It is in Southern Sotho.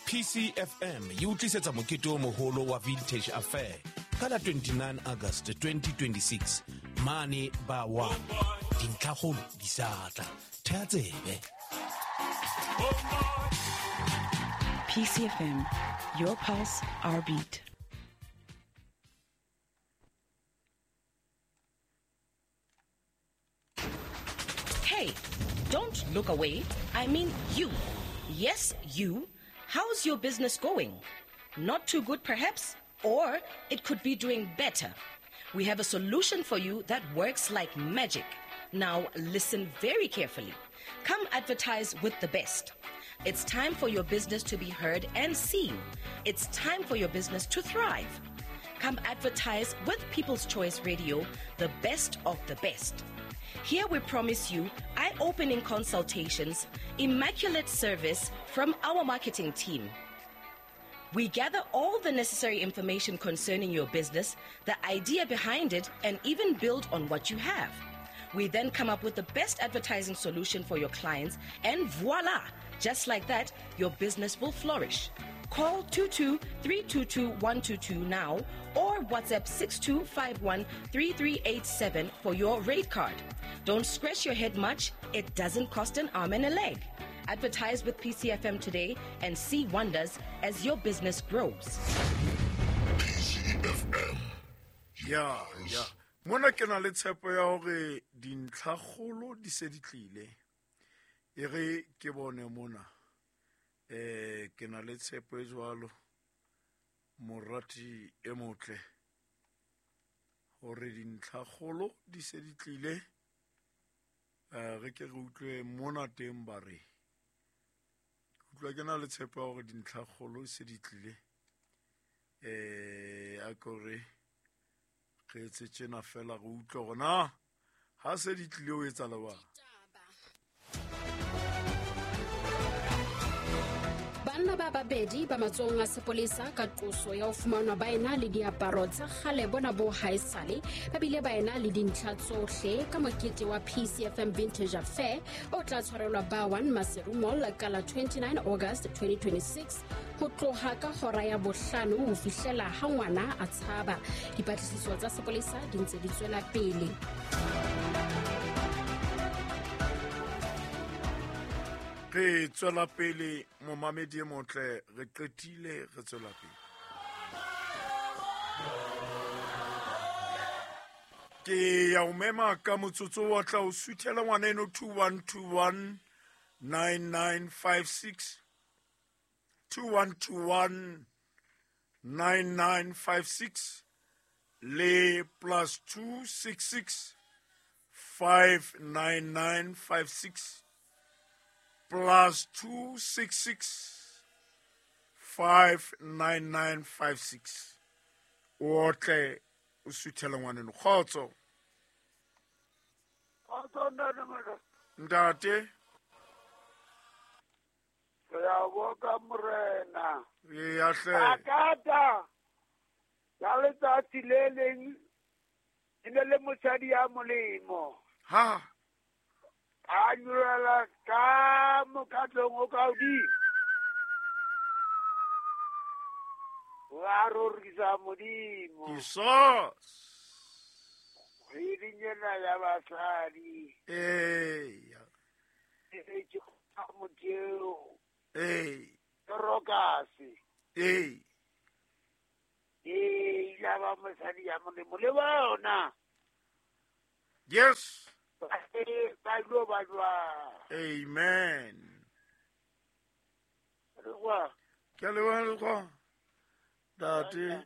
PCFM e o tlisetsa mokete o moholo wa Vintage Affair ka la 29 August 2026 mane ba wa dintlhakgolo di sa tla thea tsebe. PCFM, your pulse, our beat. Hey, don't look away. I mean you. Yes, you. How's your business going? Not too good, perhaps? Or it could be doing better. We have a solution for you that works like magic. Now, listen very carefully. Come advertise with the best. It's time for your business to be heard and seen. It's time for your business to thrive. Come advertise with People's Choice Radio, the best of the best. Here we promise you eye opening consultations, immaculate service from our marketing team. We gather all the necessary information concerning your business, the idea behind it, and even build on what you have. We then come up with the best advertising solution for your clients, and voila! Just like that, your business will flourish. Call 22 322 122 now or WhatsApp 6251 3387 for your rate card. Don't scratch your head much, it doesn't cost an arm and a leg. Advertise with PCFM today and see wonders as your business grows. PCFM. Ya ya mona ke na le tshepo ya hore dintlhakgolo di se di tlile e re ke bone mona ke na le tshepo e jwalo morati e motle hore dintlhakgolo di se di tlile re ke re utlwe mona teng ba re ke utlwa ke na le tshepo ya hore dintlhakgolo se di tlile a kore re etse tjena fela re utlwe hore na ha se di tlile o etsa lebang. Banna ba babedi ba matsohong a sepolesa ka qoso ya ho fumanwa ba ena le diaparo tsa kgale bona bo haesale ba bile ba ena le dintlha tsohle ka mokete wa PCFM Vintage Affair o tla tshwarelwa ba 1 Maseru Mall ka la 29 August 2026 ho tloha ka hora ya bohlano ho fihlela ha ngwana a tshaba. Dipatlisiso tsa sepolesa di ntse di tswela pele. Re tswela pele momamedi e motle, re qetile re tswela pele. Ke ya o mema ka motsotso wa tla o suthela ngwaneno 2121 9956 2121 9956 le plus 266 59956 plus 266 59956. O tle o suthela ngwaneno. Kgotso. Kgotso ntate Maka. Ntate. Re a boka morena. Eya hle. Akata. Ka letsatsi le leng e ne le mosadi ya molemo. Ha. A nyolela ka mokgatlong o ka hodimo. Wa rorisa Modimo. Jesus. Kgweding ena ya basadi. Eya. E ke motheo. Ee. Dorokase. Ee. Ee, ya ba mosadi ya molemo le bona. Yes. Ba lo ba jwang. Amen. Re kwa. Ke a leboha le kwa. Ntate.